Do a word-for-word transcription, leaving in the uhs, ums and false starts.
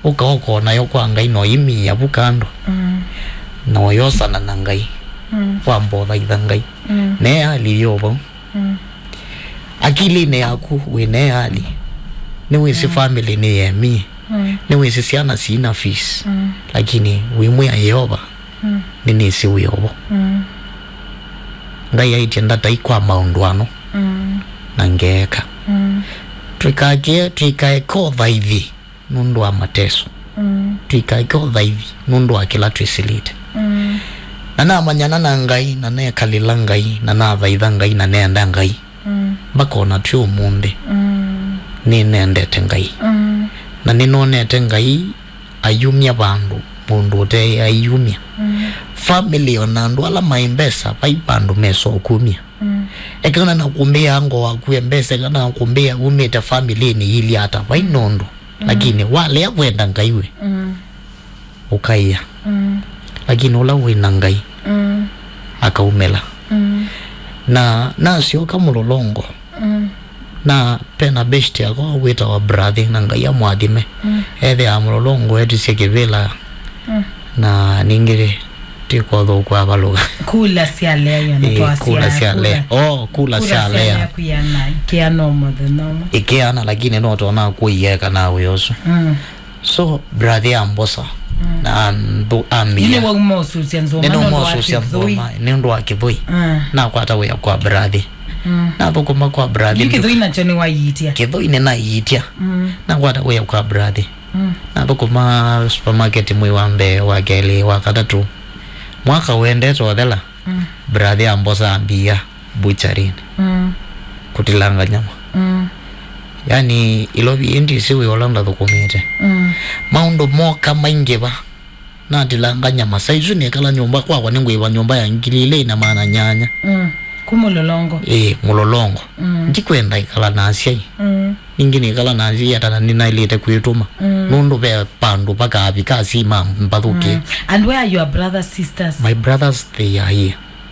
Ũkaoka nayo kwa Ngai, na ũimĩĩa vu kando, mm, na ũyosana na Ngai, mm, wamba ũthaitha Ngai. Mm. Ne hali yo vau. Mm. Akilinĩ yaku wĩ ne hali. Nĩwĩsĩ, mm, family nĩ yemie. Mm. Nĩwĩsĩ syana sina fees. Mm. Lakini wĩmwĩa Yeova, mm, nĩnĩsĩ wĩ ovo. Mm. Ngai aĩtye ndatai kwa maũndũ ano. Mm. Na ngeeka. Mm. Twĩkake, twĩkaeke ũthaithi nũndũ wa mateso. Mm. Twĩkaeke ũthaithi nũndũ wa kĩla twĩsĩlĩte. Mm. Na namanyana na Ngai, na nekalĩla Ngai, na nathaitha Ngai, na neenda Ngai. Mm. Mpaka ona twĩ ũmũnthĩ, mm, nĩnendete Ngai. Mm. Na nĩnonete Ngai ayumya vandũ mũndũ ũte aiyumya. Mm. Family ona andũ ala maĩ mbesa, vai vandũ mesa ũkumya. Mm. Ekana na kũmbĩa ngo waku e mbesa, ekana na kũmbĩa umĩte family-inĩ ili ata, vai nũndũ. Mm. Lakini walea kwenda Ngai we, mm, ũkaĩa. Mm. Lakini ũla wĩ na Ngai, mm, akaumĩla. Mm. Na nasyoka Mũlolongo, mm, na pena beshte yakwa wĩtawa Brathi, na Ngai amwathime. Mm. Ethĩaa Mũlolongo etisye kĩvĩla. Mm. Na ningĩ ti kwa ũthũku avalũka. Kula syalea, ĩona. Ĩĩ, twasya kula syalea. Kula. Oh, kula syalea. Kula syalea kwĩana, ikeana o mũthenya ũmwe. Ikeana, lakini no tona kũieka na wĩ ũsu. Mm. So, Brathi ambosa, mm, na andũ ambia. Ile wauma ũsusya nzoma. Nĩnauma ũsusya nzoma nĩ ũndũ wa Kĩthũi. Mm. Nakwata wĩa kwa Brathi. Mm. Nathũkũma kwa Brathi. Yu Kĩthũi nakyo nĩwaiitia? Kĩthũi nĩnaiitia. Mm. Nakwata wĩa kwa Brathi. Mm. Nathũkũma supermarket mwei wa mbee, wa kelĩ, wa katatũ. Mwaka ũendete ũthela, mm, Brathi ambosa ambia butchery-inĩ. Mm. Kũtilanga nyama. Mm. Yani, Ilovi ĩndĩ ĩsĩ wĩ ũla ndathũkũmĩte. Mm. Maũndũ moka maingĩva. Natilanga nyama. Saisu nĩkala nyũmba kwakwa nĩngwĩva nyũmba ya ngili ilĩ na maana nyanya. Mm. Ku Mũlolongo. Ĩĩ, Mũlolongo. Mm. Ndikwenda ikala na asyai. Mm. Ningĩ nĩkala na asyai atana nĩnaĩlĩte kwĩtũma. Mm. Nũndũ ve pandũ vakavika asima mbathũke. Mm. And where are your brothers, sisters? My brothers, they are here.